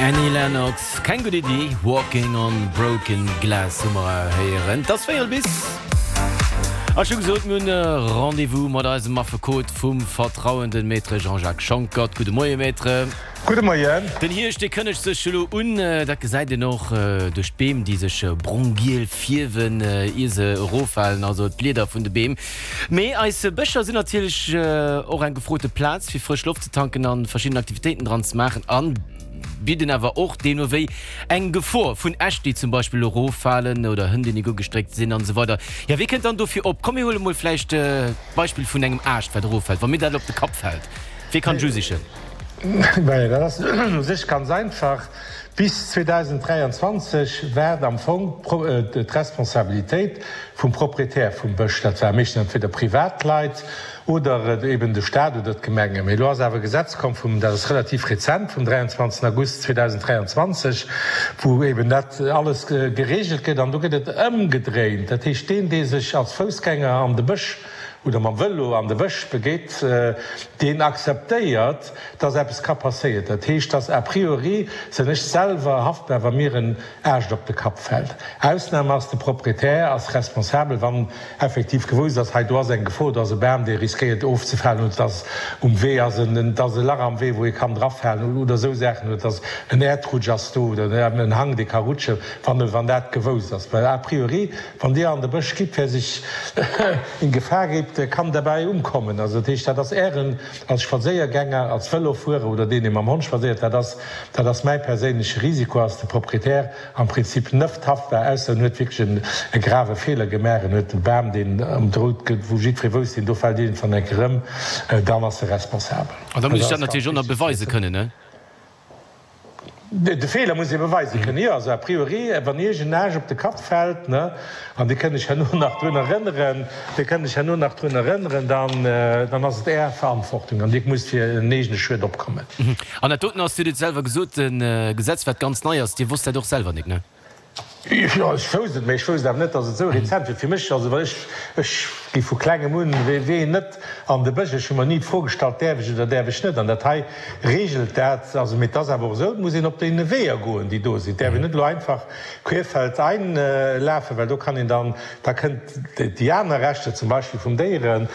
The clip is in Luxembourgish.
Annie Lennox, Keng gutt Iddi, Walking on Broken Glass hu mer héieren. Et ass véierel bis. A ech hu gesot, mir hunn e Rendez-vous mat eisem Affekot vum Vertrauen, den Maître Jean-Jacques Schonckert. Gudde Moie, Maître. Gudde Moien. Den Hierscht, dee kënnegt sech elo un. Dat gesäit een och duerch d'Beem, déi sech brong-giel fierwen, ier se eroffalen, also d'Blieder vun de Beem. Mee eis Bëscher sinn natierlech och eng gefrote Plaz, fir frësch Loft ze tanken a verschidden Aktivitéiten dran ze maachen a bidden awer och deemno wéi eng Gefor vun Äscht, déi zum Beispill eroffalen oder Hënn, déi nik ugestréckt sinn an esou weider. Jo, wie kënnt dann dofir op? Komm mir huele mol vläicht d'Beispill vun engem Aascht, wat eroffält. Wa mir dat op de Kapp fält, wee kann d'Ju sichen? Majo, dat ass u sech ganz einfach. Bis 2023 war et am Fong d'Responsabilitéit vum Proprietär vum Bësch. Dat ware meeschtens entweder Privatleit oder eben de Staat oder d'Gemengen. Mee elo ass awer e Gesetz komm vum, dat ass relativ rezent, vum 23 August 2023, wou eben dat alles geregelt gëtt. An do gëtt et ëmgedréint. Dat heescht, deen, dee sech als Foussgänger an de Bësch oder mam Vëlo an de Bësch begeet, deen akzeptéiert, dass eppes ka passéieren. Dat heescht, dass a priori sinn ech selwer haftbar, wa mir en Aascht op de Kapp fält. Ausnam ass, de Proprietär ass responsabel, wann effektiv gewousst ass, hei do ass eng Gefor, do ass e Bam, dee riskéiert ofzefalen, oder dass um Wee ass en, dass e Lach am Wee, wou ee kann drafalen, oder esou Saachen, oder dass en Äerdrutsch ass do, oder en Hank, dee ka rutschen, wann, wann dat gewousst ass. Well a priori, wann Dir an de Bësch gitt, wer sech in Gefahr gibt, kann dabei umkommen. Also dat heescht, dat ass Ären, als Spadséiergänger, als Vëlofuerer oder deen, dee mam Hond spadséiert, dat ass, dat ass mäi perséinleche Risiko, ass de Proprietär am Prinzip neft haftbar, ausser en huet wierklech e grave Feeler gemaach, en huet e Bam, deen ëmdrout gëtt, wou jiddweree wousst, deen do fält iergendwann eng Kéier ëm, dann ass e responsabel. An da muss ech dat natierlech och nach beweise kënnen, ne? De Feeler muss ee beweise kënnen, jo. Also a priori, wann Iech en Aascht op de Kapp fält, ne, an Dir kënnt lech herno nach drun erënneren, Dir kënnt lech herno nach drun erënneren, dann, dann ass et Är Verantwortung an Dir musst fir en eegene Schued opkommen. An dat doten ass, Dir hutt et selwer gesot, e Gesetz, wat ganz nei ass. Dir wosst dat och selwer nik, ne? Jo, ech wousst et, mä ech wousst awer net, datt et esou rezent wier. Fir mech, also well ech, ech gi vu klengem un wee net an de Bësch, ech hu mer ni d'Fro gestallt, däerf ech oder däerf ech net. An dat hei reegelt dat. Also, mee et ass awer och esou, et muss een op deene Weeër goen, déi do sinn. Et däerf een net elo einfach querfeldein lafen, well do kann een dann, da kënnt déi aner Rechter, zum Beispill vum Déieren.